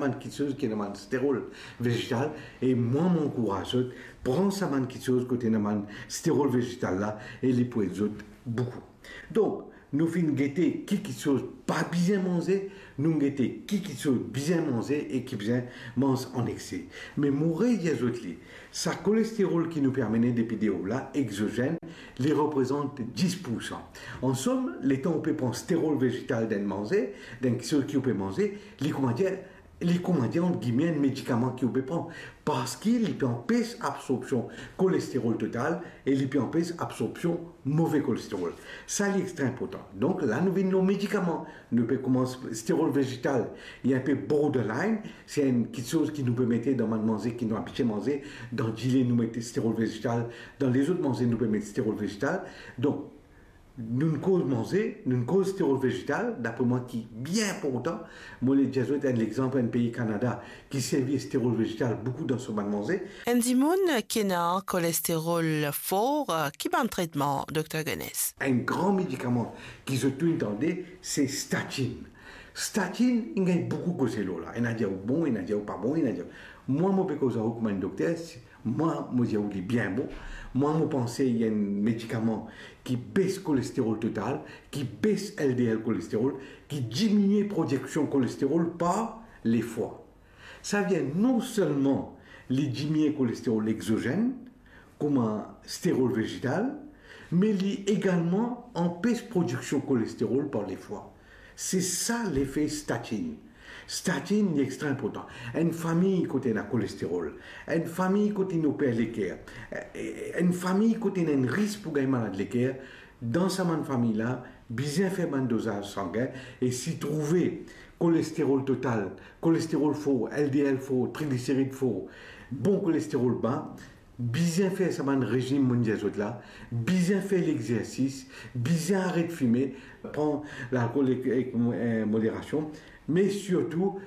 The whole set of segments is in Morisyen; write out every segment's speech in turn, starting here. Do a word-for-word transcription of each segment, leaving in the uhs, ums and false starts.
bann kitsoz ki ena bann sterol vezetal, e mwa, mo ankouraz zot, pran sa bann kitsoz kot ena bann sterol vezetal la, e li pou ed zot boukou. Donk, nou finn gete ki kitsoz pa bizin manze, nou gete ki kitsoz bizin manze e ki bizin manz an ekse. Me mo redir zot li, sa kolesterol ki nou pe amene depi deor la, exozen, li reprezant dis poursan. An som, letan ou pe pran sterol vezetal dan enn manze, dan enn kitsoz ki ou pe manze, li, koumadir, li, koumadir, ant gime, enn medikaman ki ou pe pran, parski li pe anpes absorpsion kolesterol total e li pe anpes absorpsion move kolesterol. Sa li extra inportan. Donk la, nou vinn lor medikaman. Nou pe koumans sterol vezetal, li enpe borderline, se enn kitsoz ki nou pe mete dan bann manze ki nou abitie manze, dan dile nou met sterol vezetal, dan lezot manze nou pe met sterol vezetal. Donk, nou'nn koz manze, nou'nn koz sterol vezetal, dapre mwa ki bien inportan. Mo le dir zot enn lexanp, enn pei Kanada ki servi sterol vezetal boukou dan so bann manze. Enn dimoun ki ena kolesterol for, ki bann tretman, Dokter Guenesse? Enn gran medikaman ki zot tou inn tande, se statin. Statin, inn gagn boukou koze lor la. Ena dir ou bon, ena dir ou pa bon, ena dir ou... Mwa, mo pe koz ar ou kouma enn dokter, si Mwa, mo dir ou li bien bon. Mwa, mo panse li enn medikaman ki bes kolesterol total, ki bes L D L kolesterol, ki diminie prodiksion kolesterol par lefwa. Savedir non selman li diminie kolesterol exozen, kouma sterol vezetal, me li egalman anpes prodiksion kolesterol par lefwa. Se sa lefe statin. Statin, li extra inportan. Enn fami kot ena kolesterol, enn fami kot inn oper leker, eh, enn fami kot ena enn risk pou gagn malad leker, dan sa bann fami la, bizin fer bann dozaz sangin, e si trouve kolesterol total, kolesterol for, L D L for, trigliserid for, bon kolesterol ba, bizin fer sa bann rezim monn dir zot la, bizin fer lexersis, bizin aret fime, pran lalkol ek, ek, eh, moderasion, me sirtou,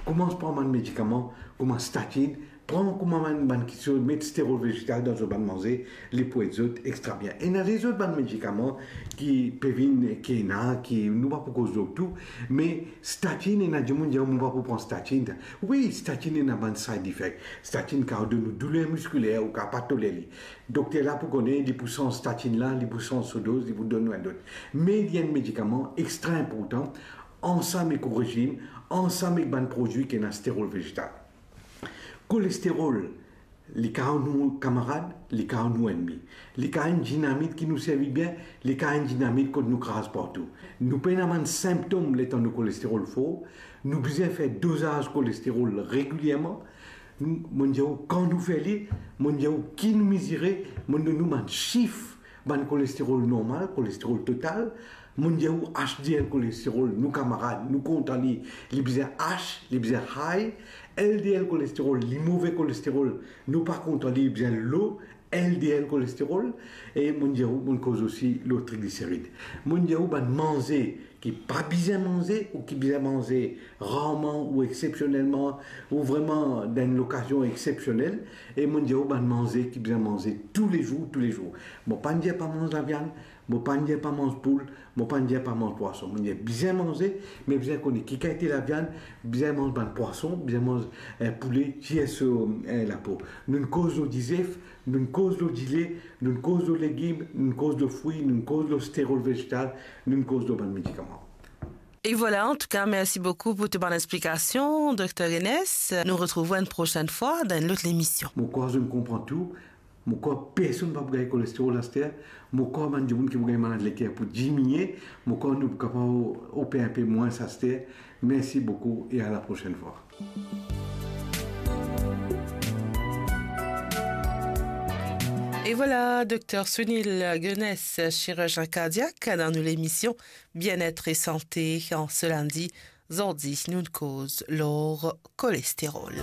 koumans pran bann medikaman, kouma statin, pran kouma bann, bann kitsoz, met sterol vezetal dan zot bann manze, li pou ed zot extra bien. Ena lezot bann medikaman ki pe vinn, ki ena, ki nou pa pou koz lor tou, me statin, ena dimoun dir, "Mo pa pou pran statin." Wi, statin ena bann side effect. Statin kapav donn ou douler miskiler, ou kapav pa toler li. Dokter la pou kone, li pou sanz statin la, li pou sanz so doz, li pou donn ou enn lot. Me li enn medikaman extra inportan, ansam ek ou rezim, ansam ek bann prodwi ki ena sterol vezetal. Kolesterol, li kapav nou kamarad, li kapav nou ennmi. Li kapav enn dinamit ki nou servi bien, li kapav enn dinamit kot nou kraz partou. Nou pena bann sinptom letan nou kolesterol for, nou bizin fer dozaz kolesterol regilierman. Nou, monn dir ou kan nou fer li, monn dir ou ki nou mizire, monn donn ou bann sif, bann kolesterol normal, kolesterol total, monn dir ou H D L kolesterol, nou kamarad, nou kontan li, li bizin H, li bizin high, L D L kolesterol, li move kolesterol, nou pa kontan li, li bizin low, L D L kolesterol, e monn dir ou, monn koz osi lor trigliserid. Monn dir ou bann manze ki pa bizin manze ou ki bizin manze rarman ou exsepsionelman, ou vreman dan enn lokazion exsepsionel, e monn dir ou bann manze ki bizin manze toulezour, toulezour. Mo pa'nn dir pa manz laviann, mo pa'nn dir pa manz poul, mo pa'nn dir pa manz pwason. Monn dir bizin manze, me bizin kone ki kalite laviann, bizin manz bann pwason, bizin manz, eh, poule, tir so, eh, lapo. Nou'nn koz lor dizef, nou'nn koz lor dile, nou'nn koz lor legim, nou'nn koz lor frwi, nou'nn koz lor sterol vezetal, nou'nn koz lor bann medikaman. Et voilà, en tout cas, merci beaucoup pour toutes tes explications, Docteur Guenesse. Nous retrouvons une prochaine fois dans une autre émission. Mo krwar zot konpran tou. Mo krwar personn pa pou gagn kolesterol aster. Mo krwar bann dimoun ki pou gagn malad leker pou diminie. Mo krwar nou pou kapav oper inpe mwins aster. Merci beaucoup et à la prochaine fois. Et voilà, Docteur Sunil Guenesse, chirurgien cardiaque, dans nos émissions Bien-être et santé en ce lundi. Zordi, nou'nn koz lor kolesterol.